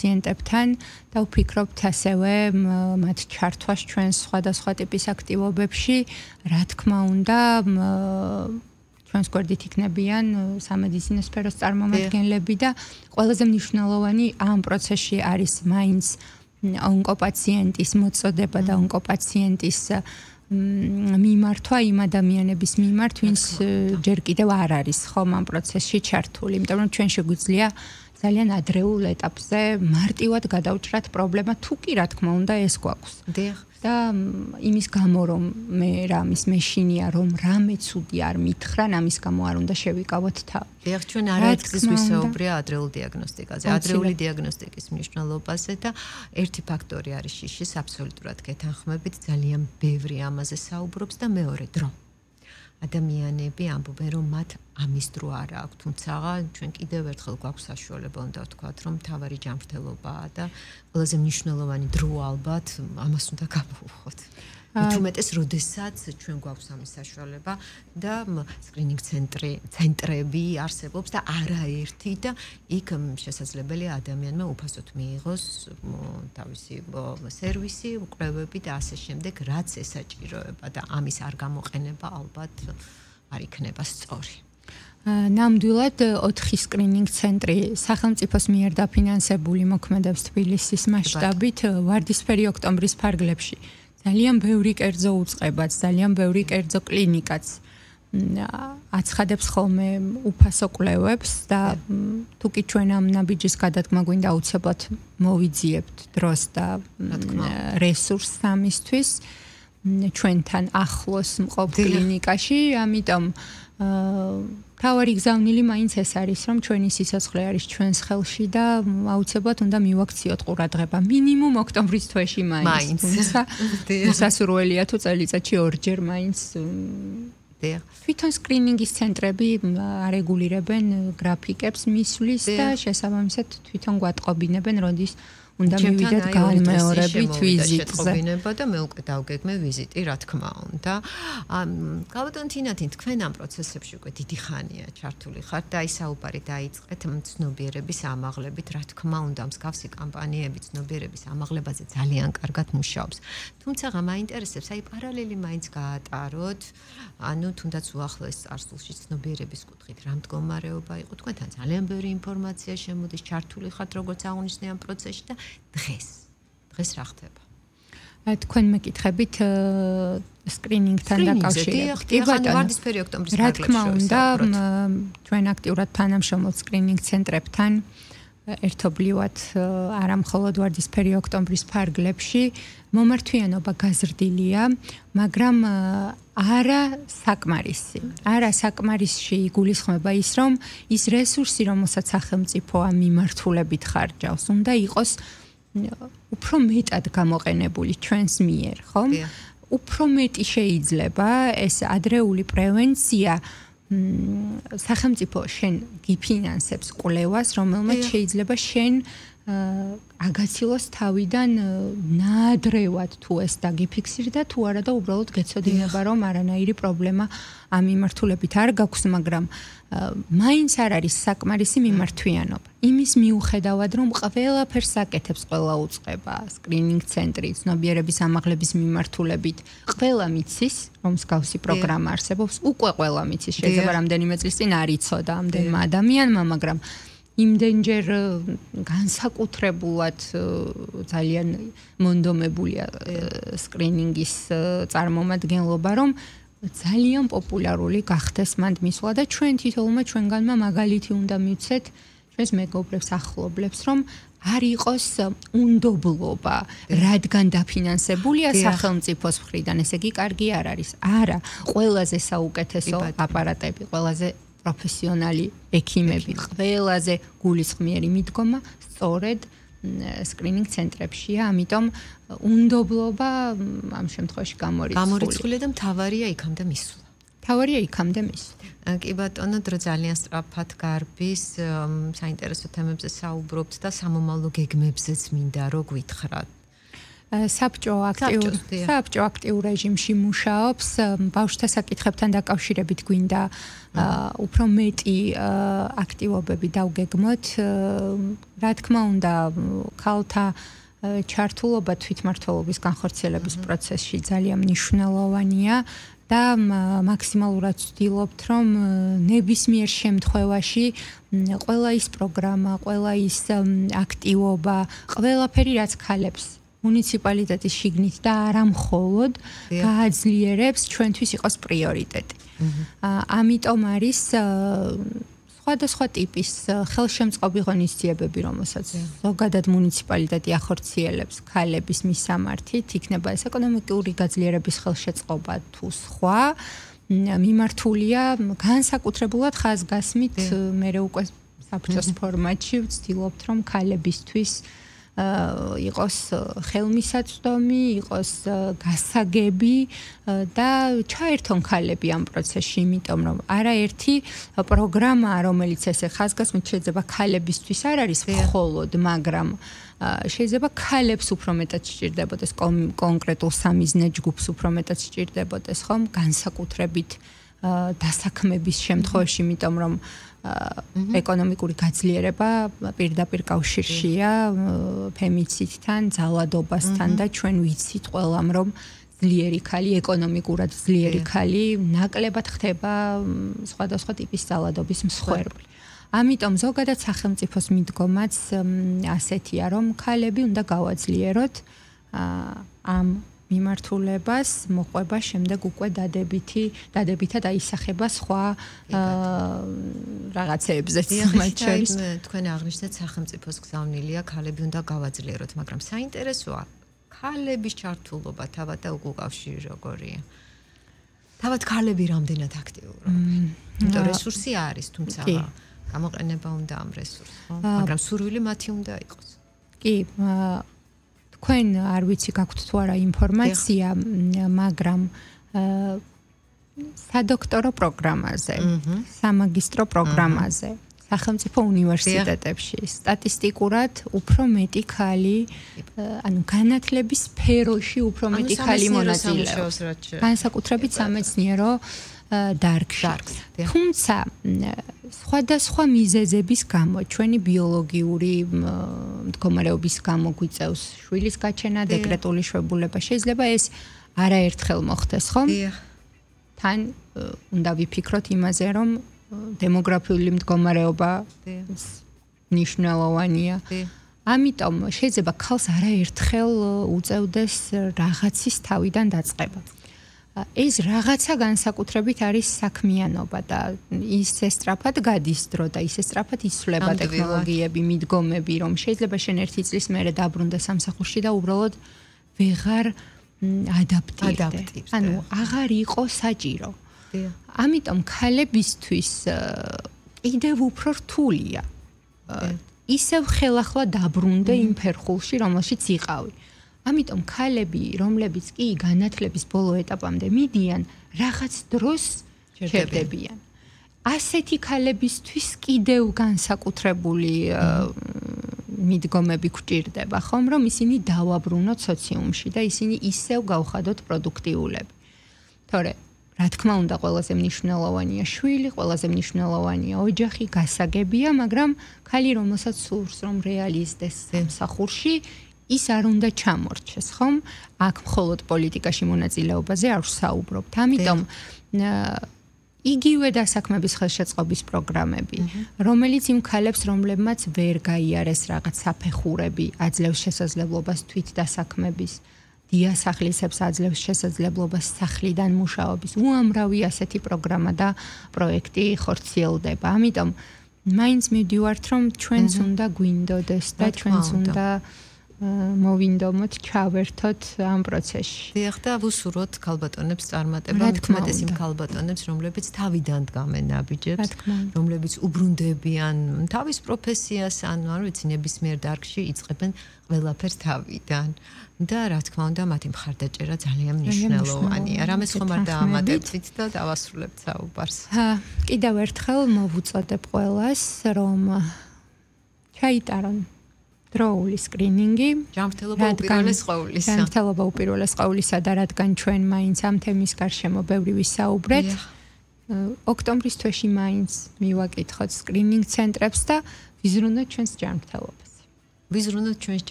პაციენტებთან და ვფიქრობთ ასევე მათ ჩართვას ჩვენს სხვადასხვა ტიპის აქტივობებში, რა თქმა უნდა, ჩვენს გვერდით იქნებიან სამედიცინო სფეროს წარმომადგენლები და ყველაზე მნიშვნელოვანი ამ პროცესში არის მაინც ონკოპაციენტის მოწოდება და ონკოპაციენტის მიმართვა იმ ადამიანების მიმართ, ვინც ჯერ კიდევ არ არის ხომ ამ პროცესში ჩართული, იმიტომ რომ ჩვენ შეგვიძლია ძალიან ადრეულ ეტაპზე მარტივად გადავჭრათ პრობლემა, თუ კი რა თქმა უნდა ეს გვაქვს. და იმის გამო რომ მე რამის მეშინია რომ რამე ცუდი არ მითხრან, ამის გამო არ უნდა შევიკავოთ თავი. დიახ, ჩვენ არაერთხელ ვისაუბრია ადრეულ დიაგნოსტიკაზე, ადრეული დიაგნოსტიკის მნიშვნელობაზე და ერთი ფაქტორი არის შიშის, აბსოლუტურად გეთანხმებით, ძალიან ბევრი ამაზე საუბრობს და მეორე დრო. ადამიანები ამბობენ რომ მათ ამის დრო არ აქვს, თუმცა ჩვენ კიდევ ერთხელ გვაქვს საშუალება უნდა ვთქვათ რომ მთავარი ჯანმრთელობაა და ყველაზე მნიშვნელოვანი დრო ალბათ ამას უნდა გამოვუხოთ. თუმეტეს როდესაც ჩვენ გვაქვს ამის საშუალება და სკრინინგ ცენტრები არსებობს და არაერთი და იქ შესაძლებელია ადამიანმა უფასოდ მიიღოს თავისი სერვისი, კვლევები და ასე შემდეგ, რაც ესაჭიროება და ამის არ გამოყენება ალბათ არ იქნება სწორი. ნამდვილად 4 სკრინინგ ცენტრი სახელმწიფოს მიერ დაფინანსებული მოქმედებს თბილისის მასშტაბით ვარდისფერი ოქტომბრის ფარგლებში. ძალიან ბევრი კერძო უწყებაც, ძალიან ბევრი კერძო კლინიკაც აცხადებს ხოლმე უფასო კვლევებს და თუ კი ჩვენ ამ ნაბიჯის გადადგმა გვინდა აუცილებლად მოვიძიებთ დროს და რესურსს ამისთვის ჩვენთან ახლოს მყოფ კლინიკაში, ამიტომ თავარი გზავნილი მაინც ეს არის, რომ ჩვენი სიცოცხლე არის ჩვენს ხელში და აუცილებლად უნდა მივაქციოთ ყურადღება მინიმუმ ოქტომბრის თვეში მაინც. სასურველია თუ წელიწადში ორჯერ მაინც. თვითონ სკრინინგის ცენტრები არეგულირებენ გრაფიკებს მისვლის და შესაბამისად თვითონ გვატყობინებენ, როდის უნდა მივიდეთ განმეორებით ვიზიტზე. და მე უკვე დავგეგმე ვიზიტი, რა თქმა უნდა. გავადონ თინათინ, თქვენ ამ პროცესებში უკვე დიდი ხანია ჩართული ხართ და აი საუბარი დაიწყეთ ცნობიერების ამაღლებით, რა თქმა უნდა, მსგავსი კამპანიები ცნობიერების ამაღლებაზე ძალიან კარგად მუშაობს. თუმცა მაინტერესებს, აი პარალელი მაინც გაატაროთ, ანუ თუნდაც უახლოეს წარსულში ცნობიერების კუთხით რა მდგომარეობა იყო, თქვენთან ძალიან ბევრი ინფორმაცია შემოდის, ჩართული ხართ როგორც აღნიშნე ამ პროცესში და დღეს რა ხდება? თქვენ მეკითხებით სკრინინგთან დაკავშირებით. კი ბატონო, ვარდისფერი ოქტომბრის რა თქმა უნდა, ჩვენ აქტიურად თანამშრომლობთ სკრინინგ ცენტრებთან, ერთობლივად არა მხოლოდ ვარდისფერი ოქტომბრის ფარგლებში, მომართვიანობა გაზრდილია, მაგრამ არა საკმარისი. არა საკმარისში იგულისხმება ის, რომ ის რესურსი, რომელსაც სახელმწიფო ამ მიმართულებით ხარჯავს, უნდა იყოს უფრო მეტად გამოყენებული ჩვენს მიერ, ხო? უფრო მეტი შეიძლება ეს ადრეული პრევენცია სახელმწიფო შენ გიფინანსებს კვლევას, რომელმაც შეიძლება შენ აგაცილოს თავიდან ნაადრევად თუ ეს დაგიფიქსირდა თუ არა და უბრალოდ გეცოდინება რომ არანაირი პრობლემა ამ მიმართულებით არ გაქვს, მაგრამ მაინც არ არის საკმარისი მიმართვიანობა. იმის მიუხედავად რომ ყველაფერს აკეთებს ყველა უწყება, სკრინინგ ცენტრი, ცნობიერების ამაღლების მიმართულებით, ყველა მიცის, რომ მსგავსი პროგრამა არსებობს, უკვე ყველა მიცის, შეიძლება რამდენიმე წლის წინ არ იცოდა ამდენმა ადამიანმა, მაგრამ იმდენჯერ განსაკუთრებულად ძალიან მონდომებულია სკრინინგის წარმომადგენლობა, რომ ძალიან პოპულარული გახდეს მანდ მისვლა და ჩვენ თითოეულმა ჩვენგანმა მაგალითი უნდა მივცეთ ჩვენს მეგობრებს, ახლობლებს, რომ არ იყოს უნდობლობა, რადგან დაფინანსებულია სახელმწიფოს მხრიდან, ესე იგი კარგი არ არის. არა, ყველაზე საუკეთესო აპარატები, ყველაზე პროფესიონალი ექიმები, ყველაზე გულისხმიერი მიდგომა სწორედ სკრინინგ ცენტრებშია, ამიტომ უნდობლობა ამ შემთხვევაში გამორიცხულია და მთავარია იქამდე მისვლა. მთავარია იქამდე მისვლა. კი ბატონო, დრო ძალიან სწრაფად გარბის, საინტერესო თემებზე საუბრობთ და სამომავლო გეგმებზეც მინდა რომ გვითხრათ. საბჭო აქტიურ რეჟიმში მუშაობს. ბავშვთა საკითხებთან დაკავშირებით გვინდა უფრო მეტი აქტივობები დავგეგმოთ. რა თქმა უნდა, ქალთა ჩართულობა თვითმმართველობის განხორციელების პროცესში ძალიან მნიშვნელოვანია და მაქსიმალურად ვცდილობთ, რომ ნებისმიერ შემთხვევაში ყველა ის პროგრამა, ყველა ის აქტივობა, ყველაფერი რაც ქალებს მუნიციპალიტეტის შიგნით და არა მხოლოდ გააძლიერებს ჩვენთვის იყოს პრიორიტეტი. ამიტომ არის სხვადასხვა ტიპის ხელშემწყობი ღონისძიებები, რომელსაც ზოგადად მუნიციპალიტეტი ახორციელებს ქალების მისამართით, იქნება ეს ეკონომიკური გაძლიერების ხელშეწყობა თუ სხვა, მიმართულია განსაკუთრებულად ხაზგასმით, მე უკვე საბჭოს ფორმატში ვცდილობთ, რომ ქალებისთვის იყოს ხელმისაწვდომი, იყოს გასაგები და ჩაერთონ ქალები ამ პროცესში, იმიტომ რომ არაერთი პროგრამა, რომელიც ესე ხაზგასმით შეიძლება ქალებისთვის არ არის მხოლოდ, მაგრამ შეიძლება ქალებს უფრო მეტად სჭირდებოდეს კონკრეტულ სამიზნე ჯგუფს უფრო მეტად სჭირდებოდეს, ხომ, განსაკუთრებით დასაქმების შემთხვევაში, იმიტომ რომ ეკონომიკური გაძლიერება პირდაპირ კავშირშია ფემიციდთან, ძალადობასთან და ჩვენ ვიცით ყველამ, რომ ძლიერი ქალი, ეკონომიკურად ძლიერი ქალი ნაკლებად ხდება სხვადასხვა ტიპის ძალადობის მსხვერპლი. ამიტომ ზოგადად სახელმწიფოს მიდგომაც ასეთია, რომ ქალები უნდა გავაძლიეროთ ამ მიმართულებას, მოყვება შემდეგ უკვე დადებითად აისახება სხვა რაღაცეებზეც. მათ შორის თქვენ აღნიშნეთ სახელმწიფოს გზავნილია ქალები უნდა გავაძლიეროთ, მაგრამ საინტერესოა ქალების ჩართულობა თავად და უკავშირი როგორია? თავად ქალები რამდენად აქტიურობენ? იმიტომ რესურსი არის, თუმცა გამოყენება უნდა ამ რესურსს, ხო? მაგრამ სურვილი მათი უნდა იყოს. კი, თქვენ არ ვიცი გაქვთ თუ არა ინფორმაცია, მაგრამ სადოქტორო პროგრამაზე, სამაგისტრო პროგრამაზე, სახელმწიფო უნივერსიტეტებში სტატისტიკურად უფრო მეტი ქალი, ანუ განათლების სფეროში უფრო მეტი ქალი მონაწილეობს. განსაკუთრებით სამეცნიერო დარგში. თუმცა სხვადასხვა მიზეზების გამო, ჩვენი ბიოლოგიური მდგომარეობის გამო გვიწევს შვილის გაჩენა, დეკრეტული შვებულება, შეიძლება ეს არაერთხელ მოხდეს, ხომ? თან უნდა ვიფიქროთ იმაზე, რომ დემოგრაფიული მდგომარეობა მნიშვნელოვანია. ამიტომ შეიძლება ქალს არაერთხელ უწევდეს რაღაცის თავიდან დაწყება. ეს რაღაცა განსაკუთრებით არის საქმიანობა და ისე სწრაფად გადის დრო და ისე სწრაფად იცვლება ტექნოლოგიები, მიდგომები, რომ შეიძლება შენ ერთი წლის მერე დაბრუნდე სამსახურში და უბრალოდ ვეღარ ადაპტირდე. ანუ აღარ იყო საჭირო. ამიტომ ქალებისთვის კიდევ უფრო რთულია. ისევ ხელახლა დაბრუნდე იმ ფერხულში, რომელშიც იყავი. ამიტომ ქალები, რომლებიც კი განათლების ბოლო ეტაპამდე მიდიან, რაღაც დროს ჩერდებიან. ასეთი ქალებისთვის კიდევ განსაკუთრებული მიდგომები გვჭირდება, ხომ, რომ ისინი დავაბრუნოთ სოციუმში და ისინი ისევ გავხადოთ პროდუქტიულები. თორე, რა თქმა უნდა, ყველაზე მნიშვნელოვანია შვილი, ყველაზე მნიშვნელოვანია ოჯახი, გასაგებია, მაგრამ ქალი, რომელსაც სურს, რომ რეალიზდეს სამსახურში, ის არ უნდა ჩამორჩეს, ხომ? აქ მხოლოდ პოლიტიკაში მონაწილეობაზე არ ვსაუბრობთ. ამიტომ იგივე დასაქმების ხელშეწყობის პროგრამები, რომელიც იმ ქალებს, რომლებმაც ვერ გაიარეს რაღაც საფეხურები, აძლევს შესაძლებლობას თვით დასაქმების, დიასახლისებს აძლევს შესაძლებლობას სახლიდან მუშაობის. უამრავი ასეთი პროგრამა და პროექტი ხორციელდება. ამიტომ მაინც მივდივართ, რომ ჩვენც უნდა გვინდოდეს და ჩვენც უნდა მოვინდომოთ, ჩავერთოთ ამ პროცესში. დიახ, და ვუსურვოთ ქალბატონებს წარმატება, თუმცა იმ ქალბატონებს, რომლებიც თავიდან დგამენ ნაბიჯებს, რომლებიც უბრუნდებიან თავის პროფესიას, ანუ არ ვიცი, ნებისმიერ დარგში იწყებენ ყველაფერს თავიდან. და რა თქმა უნდა, მათი მხარდაჭერა ძალიან მნიშვნელოვანია. რამეს ხომ არ დაამატებთ და დავასრულებთ საუბარს. კიდევ ერთხელ მოვუწოდებ ყველას, რომ ჩაიტარონ დროული სკრინინგი. ჯანმრთელობა უპირველეს ყოვლისა. ჯანმრთელობა უპირველეს ყოვლისა და რადგან ჩვენ მაინც ამ თემის გარშემო ბევრი ვისაუბრეთ. ოქტომბრის თვეში მაინც მივაკითხოთ სკრინინგ ცენტრებს და ვიზრუნოთ ჩვენს ჯანმრთელობას. ვიზრუნოთ ჩვენს